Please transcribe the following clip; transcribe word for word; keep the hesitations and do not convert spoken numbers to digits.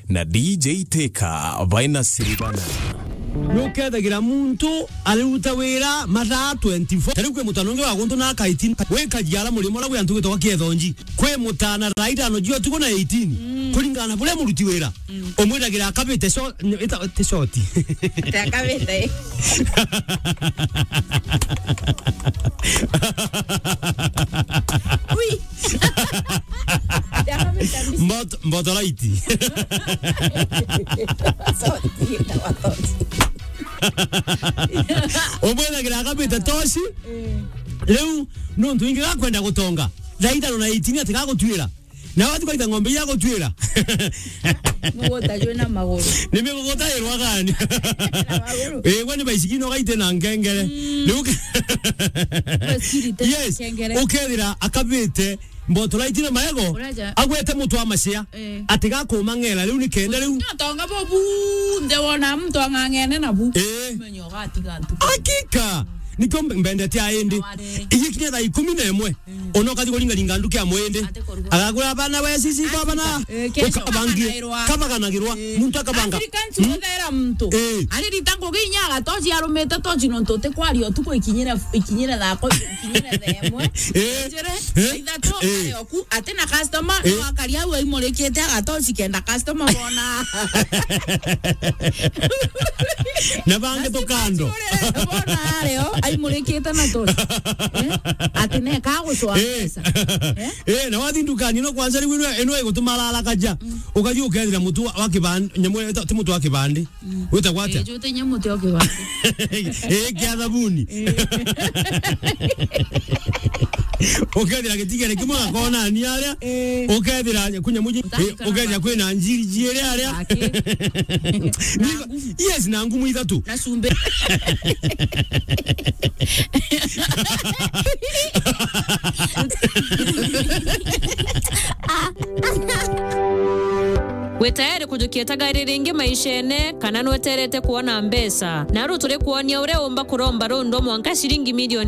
na D J Teka baina Siribana. Nukethagira muntu ariruta wira mathaa twenty-four. Tariu kwi mutano ungi wa guntu na kaitin wikajiara murimo uria gwi antu gwitagwa Kiethonji. Kwi mutana thaa itano cia utuku na eighteen. Mm. Kuringana na buria muruti wira. Mm. Umwiragira akabite sho-, ita-, ti shoti. Ati akabite. Ui. Ati akabite mbi- Mbot-, mbotolaiti. Shoti, ita wa shoti. Umwiragira akabite toshi. Eh. Riu nuntu ingi gakwenda gutonga. Thaa itano na eighteen ati gagutwira. Na watu kaita ng'ombe ya gutwira. Mugota jwe na maguru. Ni miguguta irwa gani? Na maguru. Eh, kwani baisikino gaite na ngengere. Mm. Ni uke- Yes. Ukethira akabite mbotolaiti na maego, uraja. Agwete mutu wa macia. Eh. Ati gakuma ng'era riu ni kenda riu. Nyotonga bo bunthe wona muntu ang'ang'ene na bu. Eh. Menyo gatiga ntu. Hakika. Nikio mbe-, mbendete aindi. Iji kinya thaa ikumi na imwe. Mm. Ona ukathi kuringaringa nduki ya mwindi. Ati kuruga. Agagura bana we sisi kwa bana. Eh, kesho. Ukabangie. Kabaganagirwa. Kabaganagirwa. Eh. Muntu akabanga. Africans. Mm. Uthera muntu. Eh. Aririta ngugi inya agatoci arumite toci nontu uti kwaria utuku ikinyire, ikinyire thako, ikinyire themwe. Eh. Njire, eh, ithatu, eh, ari oku, ati na customer, eh, no akari au aimurikite agatoci kenda customer bona. Na bangi tukando. Bona ario, aimurikite na toci. Eh? Ati neka gucwa, eh, mbeca. Eh? Eh, na wathi ndukani no kwanza riu ino, ino igutuma ararakaja. Mm. Ukathi ukethira mutu wa, wa kibandi, nyamu ita-, ti mutu wa kibandi. Mm. Witagwa atia? Eh, jute nyamu ti o kibandi. Eh, kia thabuni. Eh. Ukethira gitigere kimwe gakona ni aria. Eh. Ukethira kunyamu ji-, eh, ukethira kwina njiri jiiri aria. Aki. Ni-, yes, na ngumu ithatu. Na cumbi. Wi tayari kujukia tagari ringi maishene, kana nweterete kuona mbeca? Naru turi kuonia uria umba kuromba rundu mwanka ciringi milioni